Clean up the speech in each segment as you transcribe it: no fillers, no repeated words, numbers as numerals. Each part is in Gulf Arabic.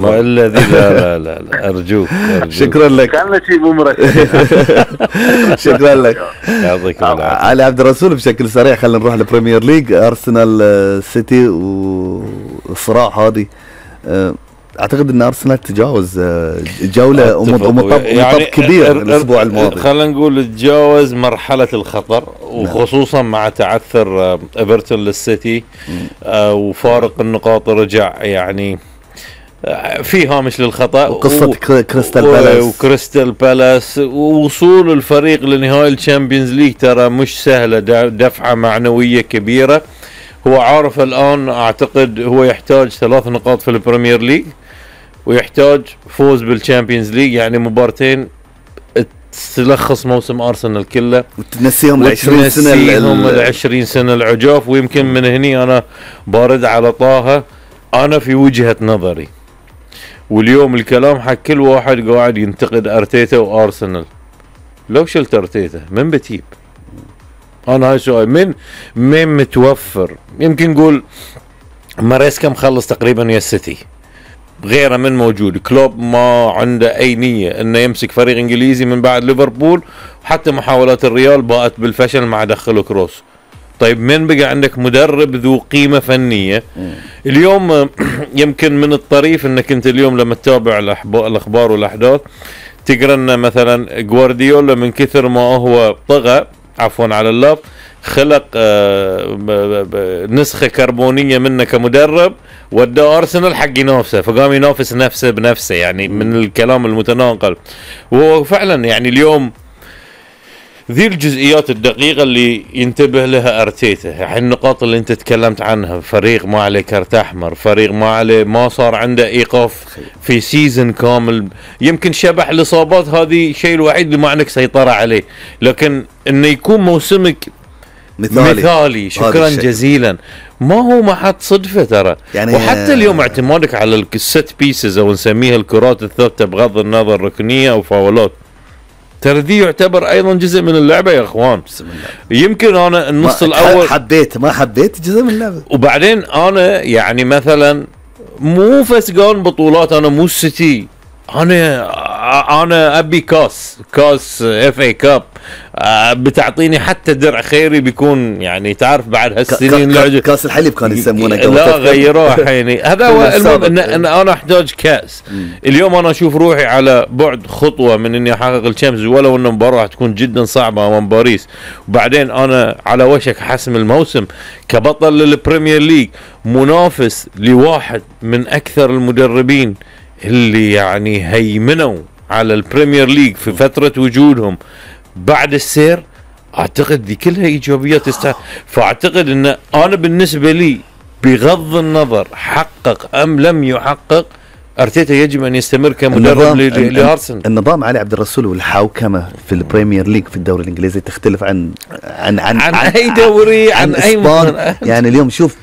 ما الذي لا أرجوك. شكرا لك. كان شيء ممرك. شكرا لك. يعطيك العافية. علي عبد الرسول بشكل سريع خلينا نروح للبريمير ليج. أرسنال سيتي والصراع هذه اعتقد ان ارسنال تجاوز جوله ومطب يعني كبير الاسبوع الماضي. خلينا نقول تجاوز مرحله الخطر، وخصوصا مع تعثر ايفرتون للسيتي وفارق النقاط رجع يعني في هامش للخطأ، وقصة كريستال بالاس ووصول الفريق لنهائي الشامبيونز ليج ترى مش سهلة، دفعة معنوية كبيرة. هو عارف الآن أعتقد هو يحتاج 3 نقاط في البريمير ليج ويحتاج فوز بالشامبيونز ليج، يعني مبارتين تلخص موسم أرسنال كله وتنسيهم ال20 سنة العجاف. ويمكن من هني أنا بارد على طه، أنا في وجهة نظري واليوم الكلام حق كل واحد قاعد ينتقد أرتيتا وأرسنال، لو شلت أرتيتا من بتجيب؟ أنا هاي سؤال، من متوفر؟ يمكن نقول ماريسكا مخلص تقريبا يا السيتي، غيره من موجود. كلوب ما عنده أي نية إنه يمسك فريق إنجليزي من بعد ليفربول، وحتى محاولات الريال باءت بالفشل مع دخله كروس. طيب من بقى عندك مدرب ذو قيمة فنية اليوم؟ يمكن من الطريف انك انت اليوم لما تتابع الاخبار والاحداث تقرا ان مثلا جوارديولا من كثر ما هو طغى، عفوا على اللفظ، خلق نسخة كربونية منه كمدرب، ودى أرسنال حق ينافسه، فقام ينافس نفسه بنفسه، يعني من الكلام المتناقل. وهو فعلا يعني اليوم ذي الجزئيات الدقيقة اللي ينتبه لها أرتيتا، يعني النقاط اللي انت تكلمت عنها، فريق ما عليه كارت أحمر، فريق ما عليه، ما صار عنده إيقاف في سيزن كامل. يمكن شبح الإصابات هذه شيء الوحيد اللي ما عندك سيطرة عليه، لكن انه يكون موسمك مثالي شكرا جزيلا ما هو ما حد صدفة ترى يعني. وحتى اليوم اعتمادك على الست بيسز او نسميها الكرات الثابتة بغض النظر ركنية او فاولات، ترى دي يعتبر ايضا جزء من اللعبة يا اخوان. يمكن انا النص الاول ما حبيت جزء من اللعبة، وبعدين انا يعني مثلا مو فسقان بطولات، انا مو السيتي، انا ابي كاس اف اي كاب، بتعطيني حتى درع خيري بيكون يعني تعرف بعد هالسنين كاس الحليب كانوا يسمونه لا غيروه حيني. هذا هو المهم ان انا احتاج كاس. اليوم انا اشوف روحي على بعد خطوه من اني احقق الشامبيونز، ولو ان المباراه تكون جدا صعبه امام باريس، وبعدين انا على وشك حسم الموسم كبطل للبريمير ليج، منافس لواحد من اكثر المدربين اللي يعني هيمنوا على البريمير ليج في فترة وجودهم بعد السير. اعتقد دي كلها ايجابيات فاعتقد ان انا بالنسبة لي بغض النظر حقق ام لم يحقق، ارتيتا يجب ان يستمر كمدرب لارسنال. النظام علي عبد الرسول والحوكمة في البريمير ليج في الدوري الانجليزي تختلف عن اي دوري، عن اي يعني اليوم شوف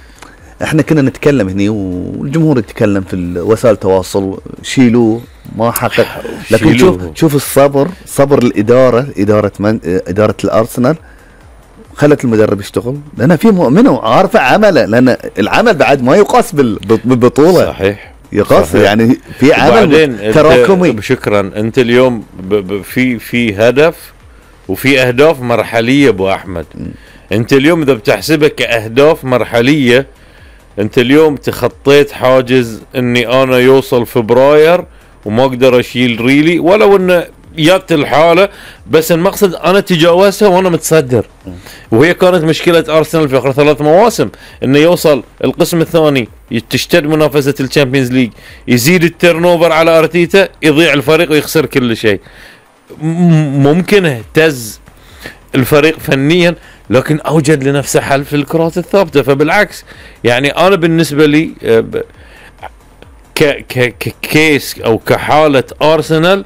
احنا كنا نتكلم هني والجمهور يتكلم في وسائل التواصل، شيلوه ما حقق، لكن شوف صبر الإدارة، إدارة الأرسنال خلت المدرب يشتغل، لأنها في مؤمنة وعارفة عمله، لأن العمل بعد ما يقاس بالبطولة. صحيح يقاس يعني في عمل تراكمي. شكرا. انت اليوم في هدف وفي أهداف مرحلية ابو احمد. انت اليوم اذا بتحسبها كأهداف مرحلية، انت اليوم تخطيت حاجز اني انا يوصل فبراير وما اقدر اشيل ريلي، ولو ان جات الحالة، بس المقصد انا تجاوزتها وانا متصدر. وهي كانت مشكلة ارسنال في اخر 3 مواسم، انه يوصل القسم الثاني تشتد منافسة الشامبيونز ليج، يزيد التيرنوفر على ارتيتا، يضيع الفريق ويخسر كل شيء. ممكن اهتز الفريق فنيا، لكن اوجد لنفسه حل في الكرات الثابته. فبالعكس يعني انا بالنسبه لي ككيس او كحاله ارسنال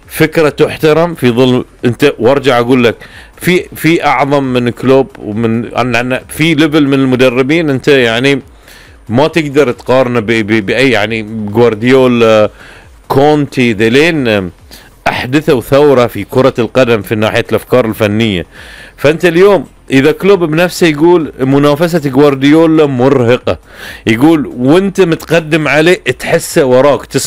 فكره تحترم في ظل انت، وارجع اقول لك في اعظم من كلوب ومن في ليفل من المدربين، انت يعني ما تقدر تقارنه باي يعني جوارديولا كونتي ذلين احدثوا ثوره في كره القدم في ناحيه الافكار الفنيه. فانت اليوم اذا كلوب بنفسه يقول منافسة جوارديولا مرهقة، يقول وانت متقدم عليه تحسه وراك، تسمع